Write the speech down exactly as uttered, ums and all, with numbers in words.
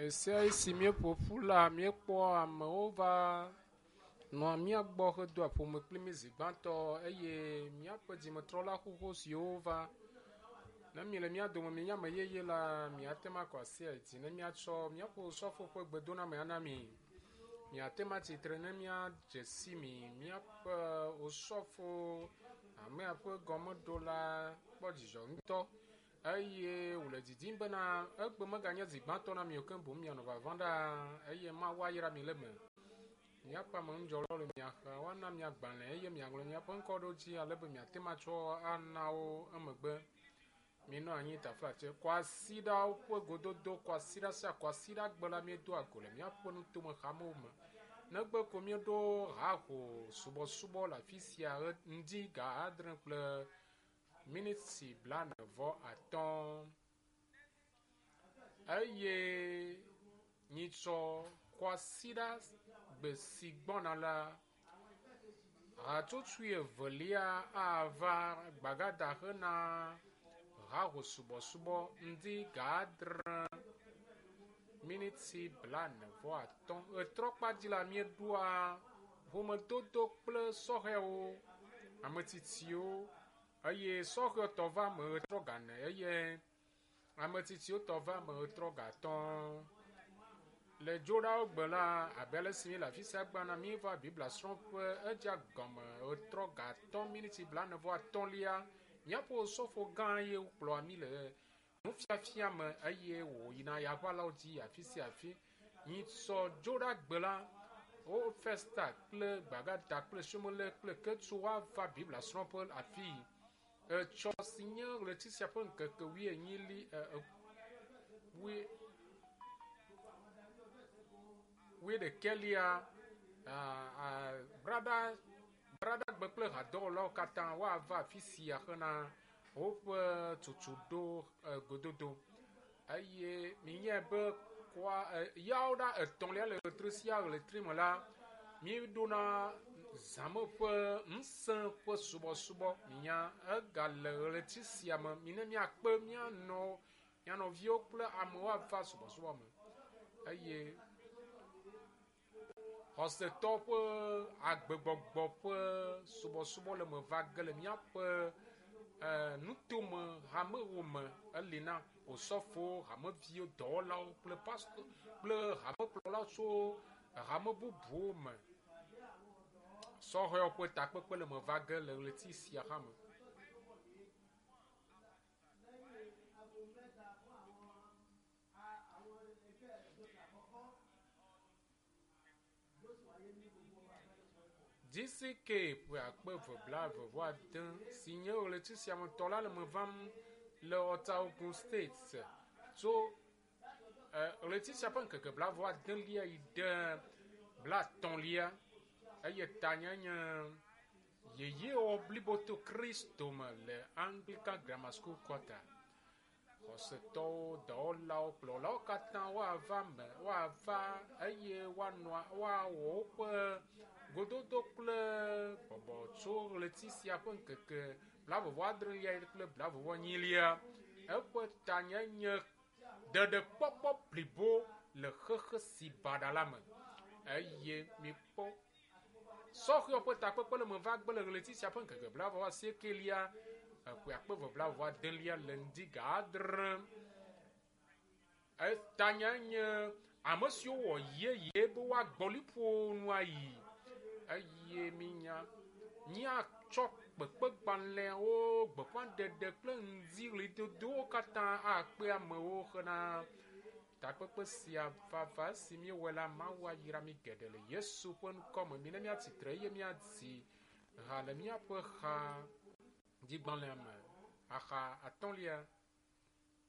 Ɣesiaɣi si míeƒo ƒu la, míekpɔa amewo va nɔa mía gbɔ hedoa ƒome kpli mí zi gbãtɔ eye míaƒe dzimetrɔla xoxo siwo va. Ne miele mía dome mienye ame yeye la, miate ŋu akɔ asi ayi dzi ne míatsɔ míaƒe osɔfo ƒe gbedoname ana mi. Miate ŋu atsitre ne míadze si mi. Míaƒe osɔfo hamea ƒe gɔmeɖola kpɔ dzidzɔ ŋutɔ eye wòle didim bena egbe meganye zi gbãtɔ na mi o ke boŋ mianɔ vava ɖaa eye Mawu ayra mi le eme. Míaƒe amenudzɔlawo le mia xa, woana mi agbalẽ eye miaŋlɔ miaƒe ŋkɔ ɖo dzi ale be miate ŋu atsɔ ana wo emegbe. Minɔ anyi taflatse. Kwasiɖawo ƒe gododo kwasiɖa sia kwasiɖa gbe la míedoa go le míaƒe nutome hamewo me. Negbe ko míeɖo haho subɔsubɔ le afi sia ŋdi ga adre kple miniti blaene vɔ atɔ̃ eye nyitsɔ kwasiɖa gbe si gbɔna la, hatsotsoe evelia ava gbagada hena haho subɔsubɔ ŋdi ga adre miniti blaene vɔ atɔ̃. Ɣetrɔkpadzi la míeɖoa ƒomedodo kple sɔhɛwo, ametsitsiwo eye sɔhɛ tɔ va ame ɣetrɔ ga ene eye ametsitsiwo tɔ va ame ɣetrɔ ga atɔ̃. Le dzoɖawo gbe la, abe ale si míele afi sia gbana, míeva Biblia srɔ̃ƒe edze gɔme ɣetrɔ ga atɔ̃ miniti blaene vɔ atɔ̃lia. Míaƒe osɔfo gã ye kplɔa mí le nufiafia me eye wòyina yaʋalawo dzi afi sia afi. Nyitsɔ dzoɖagbe la, wo Festa kple Gbagada kple Somele kple Ketsu woava Biblia srɔ̃ƒe afii. Etsɔ si nye ɣleti sia ƒe ŋkeke wuienyili e, e, wui wuiɖekɛlia brada bradagbe kple hadɔwɔlawo katã woava afi sia hena woƒe tutuɖo gododo eye minyae be kɔa yawo ɖa etɔ̃lia le ɣletri sia ɣletri me la míeɖona zãme ƒe ŋusẽ ƒe subɔsubɔ minya egale ɣleti sia me mine míakpe míanɔ mía nɔviwo kple amewo ava subɔsubɔ me eye xɔsetɔ ƒe agbegbɔgbɔ ƒe subɔsubɔ le me va ge le míaƒe nutome hamewo me eli na osɔfowo, hameviwo, dɔwɔlawo kple pastor kple hamekplɔlawo tso hame bubuwo me. Sɔhɛwo ƒe takpekpe le me va ge le ɣleti sia hã me. D C K ƒe akpe eve blaeve vɔ ade si nye ɣleti sia me tɔ la le me vam le Ɔta State tso ɣleti sia ƒe ŋkeke blaeve adelia yi ɖe blatɔ̃lia eye tanye nye yeyewɔ blibo to Kristo me le Anglican Grammar School quarter. Xɔsetɔwo, dɔwɔlawo, kplɔlawo katã woava me, woava eye woanɔ woawɔ woƒe gododo kple bɔbɔ tso ɣleti sia ƒe ŋkeke blaeve vɔ adrelia kple blaeve vɔ enyilia. Eƒe tanye nye ɖeɖekpɔkpɔ blibo le xexe si baɖa la me eye mikpɔ sɔhɛwo ƒe takpekpe le me va gbe le ɣleti sia ƒe ŋkeke blaeve vɔ asiekelia eƒe akpe eve blaeve vɔ adelia le ŋdi ga adre. Etanya nye ame siwo wɔ yeye be woagbɔ liƒo nu ayi eye minya míatsɔ kpekpegbalẽwo, gbeƒãɖeɖe kple ŋdi ɣlidodowo katã akpe amewo hena takpekpe sia vava si míewɔe la Mawu ayra mí geɖe le Yesu ƒe ŋkɔ me. Mina míatsitre eye míadzi ha le míaƒe ha dzigbalẽa me axa atɔ̃lia.